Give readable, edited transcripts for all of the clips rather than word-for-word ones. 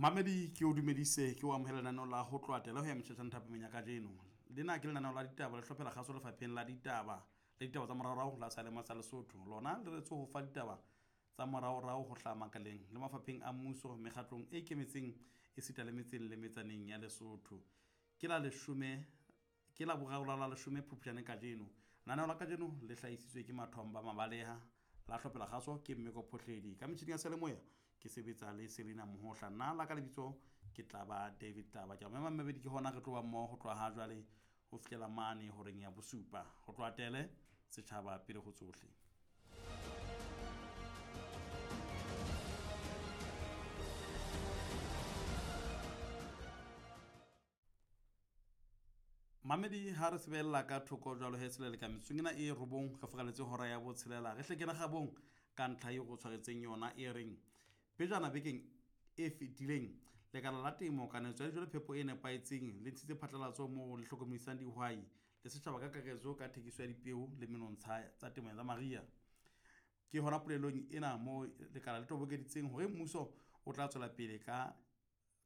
Mamedi ke o dumedise ke o amohela lenaneo la ho tloha tela ho ya metjhetjhang thapameng ya kajeno. Lena ke lenaneo la ditaba le hlophela kgaso lefapheng la ditaba le ditaba tsa moraorao la Salema sa Lesotho. Lona le retse ho fa ditaba tsa moraorao ho hlaha makaleng le mafapheng a mmuso, mekgatlong e ikemetseng esita le metseng le metsaneng ya Lesotho. Ke la leshome ke la boraro la la leshome Phupjane kajeno. Lenaneo la kajeno le hlahisitswe ke Mathomba Mabaleha la hlophela kgaso ke Mmeko Phohledi. Ka metjhining ya seyalemoya ke sebetsa le Selina Mohohla. Nna la ka lebitso ke tla ba David Taba. Ke a mema mmabedi ke hona re tlo ba mmoho ho tloha ha jwale ho fihlela mane horeng ya bosupa. Ho tloha tele setjhaba pele ho tsohle. Mamedi ha re sebella ka thoko jwalo he selele ka metsotsong ena e robong re fokaletse hora ya botshelela re hle kena gabong ka ntlha eo go tshwaretseng yona e reng pejana bekeng e fetileng lekala la temo kanetso ya dijo le phepo e nepahetseng le ntshitse phatlalatso moo le hlokomedisang dihwai le setjhaba ka kakaretso ka thekiso ya dipeo le menontsha tsa temo ya mariha. Ke hona polelong ena moo lekala le tobokeditseng hore mmuso o tla tswela pele ka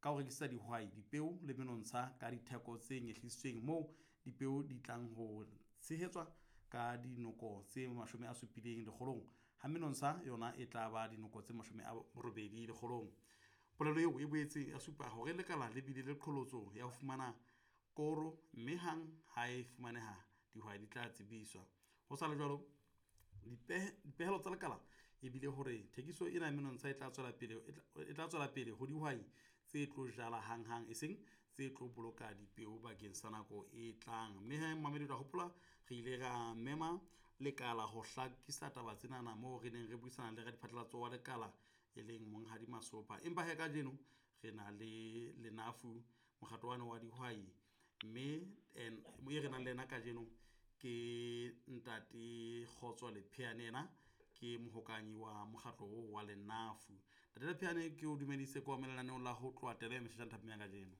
ka ho rekisetsa dihwai dipeo le menontsha ka ditheko tse nyehlisitsweng moo dipeo di tlang ho tshehetswa ka dinoko tse 70 lekgolong ha menontsha yona e tla ba dinoko tse 80 lekgolong. Polelo eo e boetse ya supa hore lekala le bile le qholotso ya ho fumana koro mme hang ha e fumaneha dihwai di tla tsebiswa. Ho sa le jwalo, dipehelo tsa lekala e bile hore thekiso ena ya menontsha e tla tswela pele e tla tswela pele ho dihwai tse tlo jala hanghang e seng tse tlo boloka dipeo bakeng sa nako e tlang. Mme he mamedi ra hopola re ile ra mema lekala ho hlakisa taba tsenana moo re neng re buisana le radiphatlalatso wa lekala e leng Monghadi Masopa. Empa he kajeno re na le Lenafu mokgatlo wane wa dihwai mme e re nang le yena kajeno ke ntate Kgotso Lepheane yena ke mohokanyi wa mokgatlo oo wa Lenafu. Ntate Lepheane ke o dumedise ko lenaneong la ho tloha tele meshashang thapeng ya kajeno.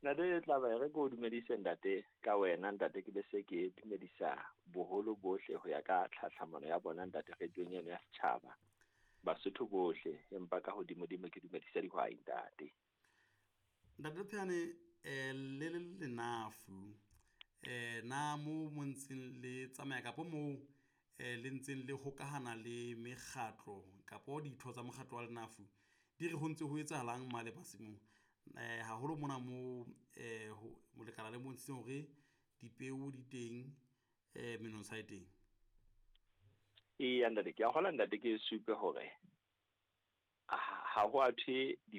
Ntate Tlaba re ke o dumedise ntate ka wena ntate ke be se ke dumedisa boholo bohle ho ya ka tlhatlhamano ya bona ntate radiong eno ya setjhaba. Basotho bohle empa ka hodimodimo ke dumedisa dihwai ntate. Ntate Lepheane le le Lenafu na mo mo ntseng le tsamaya kapo moo le ntseng le hokahana le mekgatlo kapo ditho tsa mokgatlo wa Lenafu di re ho ntse ho etsahalang male masimong haholo mona mo lekala le bontshitseng hore dipeo di teng menontsha e teng. Eya ntate ke a kgolwa ntate ke supe hore ha ho a thwe di